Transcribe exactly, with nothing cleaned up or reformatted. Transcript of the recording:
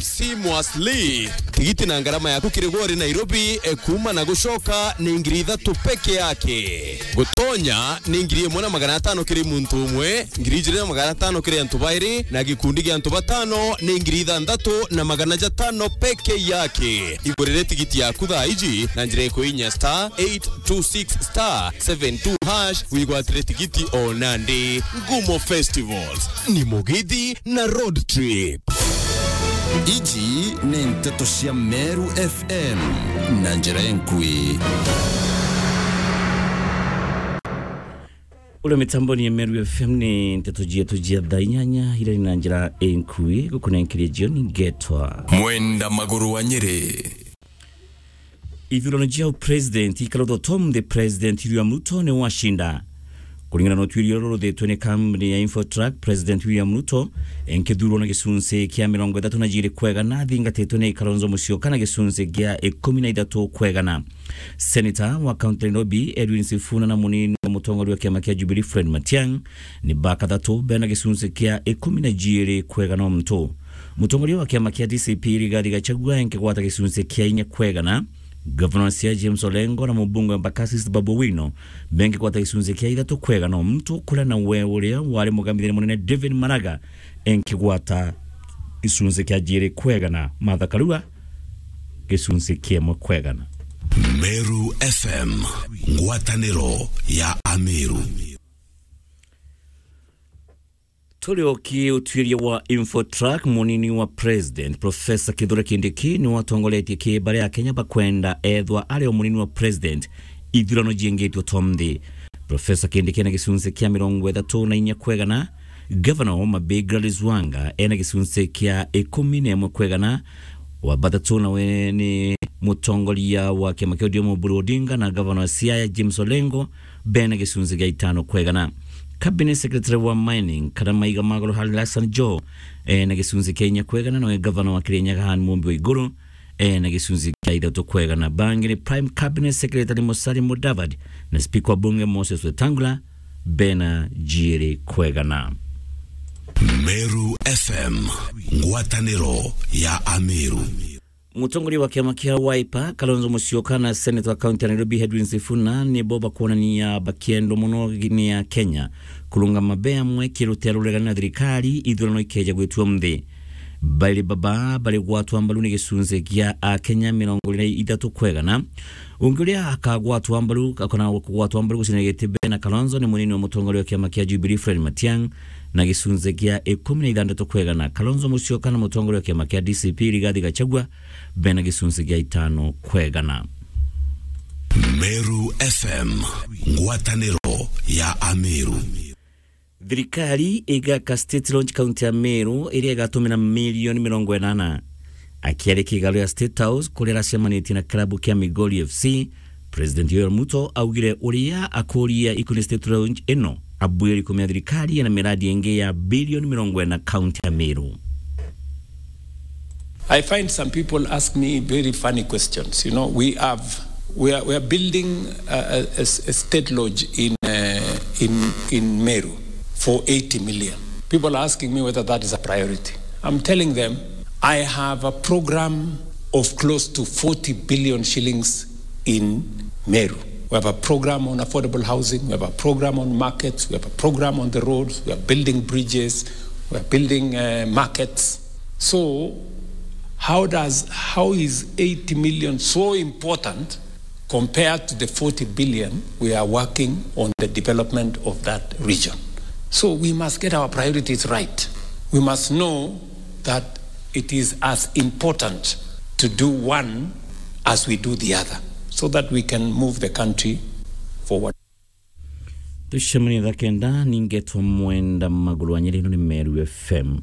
Seamlessly. Tigiti na ngarama yaku kiri gwe uri Nairobi, e, kuuma na gucoka ni ngiri ithatu peke yake. Gutonya ni ngiri imwe na magana atano kiri muntu umwe, ngiri ijiri na magana atano kiri antu bairi, na gikundi gia antu batano ni ngiri ithanthatu na magana jatano peke yake. Igurire tigiti yaku thaa iji na njira ikuinya star eight two six star seven two hash wigwatire tigiti o nandi. Ngumo Festivals ni Mugithi na Road Trip. Iji ni nteto cia Meru F M na njira enkui. Uria mitamboni ya Meru F M ni nteto cietu cia thaa inyanya iria ni na njira enkui gukunenkeria jioni ngetwa Mwenda Maguru wa Nyeri. Ithurano cia president ikarutwa tom the president William Ruto ni wacinda. Kuringana na utuirio ruru ruthetwe ni kambuni ya Infotrack, President William Ruto enkithurwa na gicunci kia mirongo ithatu na jiri kwegana, athingatitwe ni Kalonzo Musyoka na gicunci kia ikumi na ithatu kwegana. Senator wa kaunti ya Nairobi, Edwin Sifuna, na munini wa mutongoria wa kiama kia Jubilee, Fred Matiang'i, ni ba kathatu bena gicunci kia ikumi na jiri kwegana o muntu. Mutongoria wa kiama kia D C P, Rigathi Gachagua, enkigwata gicunci kia inya kwegana. Gavana wa Siaya, James Orengo, na mubunge wa Embakasi East, Babu Owino, benkigwata gicunci kia ithatu kwegana o muntu, kuria nawe uria wari mugambithania munene, David Maraga, enkigwata gicunci kia jiri kwegana. Martha Karua, gicunci kia imwe kwegana. Meru F M, ngwataniro ya Ameru. Turi o ki utuiria wa Infotrack, munini wa president, Professor Kithure Kindiki, ni watongoretie ki baria Akenya bakwenda ethwa ari o munini wa president ithurano jiengitwe tom nthi. Professor Kindiki ena gicunci kia mirongo ithatu na inya kwegana, Gavana wa Homa Bay, Gladys Wanga, ena gicunci kia ikumi na imwe kwegana, wa bathatu nawe ni mutongoria wa kiama kia O D M, Oburu Odinga, na gavana wa Siaya, James Orengo, bena gicunci gia itano kwegana. Cabinet Secretary wa Mining kana maiga ma goro, Halili Hassan Joho, ena gicunci kia inya kwegana, nawe gavana wa Kirinyaga, Anne Mumbi Waiguru, ena gicunci kia ithatu kwegana. Bangi ni Prime Cabinet Secretary Musalia Mudavadi na Speaker wa Bunge, Moses Wetangula, bena jiri kwegana. Meru F M, ngwataniro ya Ameru. Mutongoria wa kiama kia Wiper, Kalonzo Musyoka, na Senator wa kaunti ya Nairobi, Edwin Sifuna, nibo bakwonania bakiendwa mono ni Akenya kurungama be amwe kirutea ruregani na thirikari ithurano ikeja gwitwa nthi. Bairi baba bari gwatwa mbaru ni gicunci kia Akenya mirongo iri na ithatu kwegana. Ungi uria akagwatwa mbaru, akona kugwatwa mbaru gucina giti bena Kalonzo ni munini wa mutongoria wa kiama kia Jubilee, Fred Matiang'i, na gicunci kia ikumi na ithanthatu kwegana. Kalonzo Musyoka na mutongoria wa kiama kia D C P, Rigathi Gachagua, bena gicunci gia itano kwegana. Meru F M, ngwataniro ya Ameru. Thirikari igaka State Lodge kaunti ya Meru, iria igatumira milioni mirongo inana. Akiaria kigaru ya State House, kuria aracemanitie na klabu kia Migori F C, President Yoweri Ruto augire uria akuria ikuni State Lodge ino, abuiri kumia thirikari ena miradi ingi ya bilioni mirongo ina kaunti ya Meru. I find some people ask me very funny questions. You know, we have, we are, we are building a, a, a s-, a state lodge in, uh, in, in Meru for eighty million. People are asking me whether that is a priority. I'm telling them, I have a program of close to forty billion shillings in Meru. We have a program on affordable housing, we have a program on markets, we have a program on the roads, we are building bridges, we are building, uh, markets. So, how does, how is eighty million so important compared to the forty billion we are working on the development of that region? So we must get our priorities right. We must know that it is as important to do one as we do the other, so that we can move the country forward. Tucemanie thaa kenda, ningetwa Mwenda Maguru wa Nyeri, ino ni Meru F M.